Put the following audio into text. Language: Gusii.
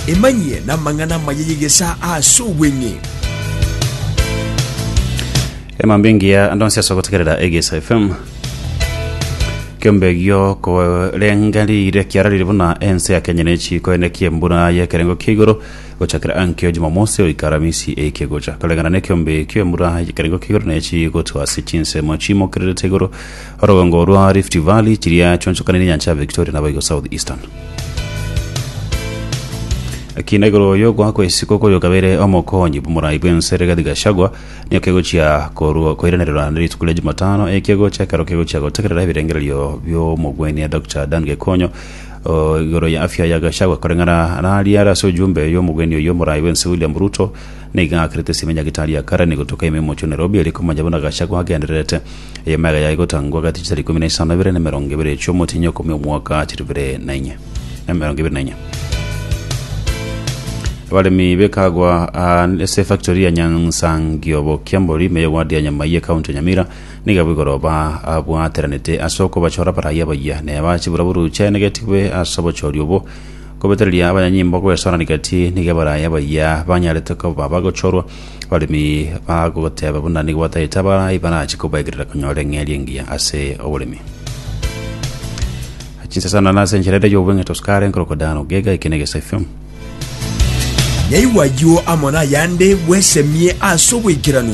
Emanyie namang'ana amaya y'egesaa ase obweng'e. Emambia engiya ande onsi ase ogotegerera Egesa FM. Kiombe gio korengerire kiararire buna ense ya Kenya nechikoenekia embura y'ekerengo kia igoro gochakera ankio Jumamosi goika Aramisi eke gocha. Koreng'ana nekiombe ekio embura y'ekerengo kia igoro nechigotwa ase chinsemo chimokererete igoro orogongo rwa Rift Valley chiria chionchokanire enyancha ya Victoria naboigo South Eastern. Ekina igoro y'ogoakwa isiko koyokabeire omokonyi bw'omorai bw'ense Rigathi Gachagua nigo kegochia korwa koiranererwa ne rituko ria Jumatano eki egocha ekero kegochia gotegerera ebirengererio bi'omogwenia Doctor Dan Gekonyo o, igoro ya afya ya Gachagua koreng'ana naria are ase ojumbe y'omogwenia oyio omorai bw'ense William Ruto nigo aakerete esime nyagetari ya Karen gotoka ime omochie o Nairobi erio komanya buna Gachagua agendererete Eye mega yaye gotangwa gati chisara ikomi na isano ibere na emerongo ebere chi'omotienyi okomi omwaka chiribere na inye na emerongo ebere na inye. Abaremi b'ekagwa ah, ase efactory ya Nyansangio Bokiambori ime y'eward ya Nyamai ekaunti ya Nyamira nigo abwo igoro babwateranete ase okobachora abarai abayia neba chiburaburu chiaenegetigwe ase obochori obwo kobetereria abanyanyimbo goesoanania gati nigo abarai abayia banyarete koba bagochorwa Abaremi bagoteba buna nigo batagete abarai barache kobaegerera konyora eng'eria engiya ase oboremi. Chinsasana nase enchera ere y'obweng'e tosukare nkorokwa Dan Ogega eke ne Gesa FM. Nyaigwa ayio amo nayande bwesemie ase oboikeranu.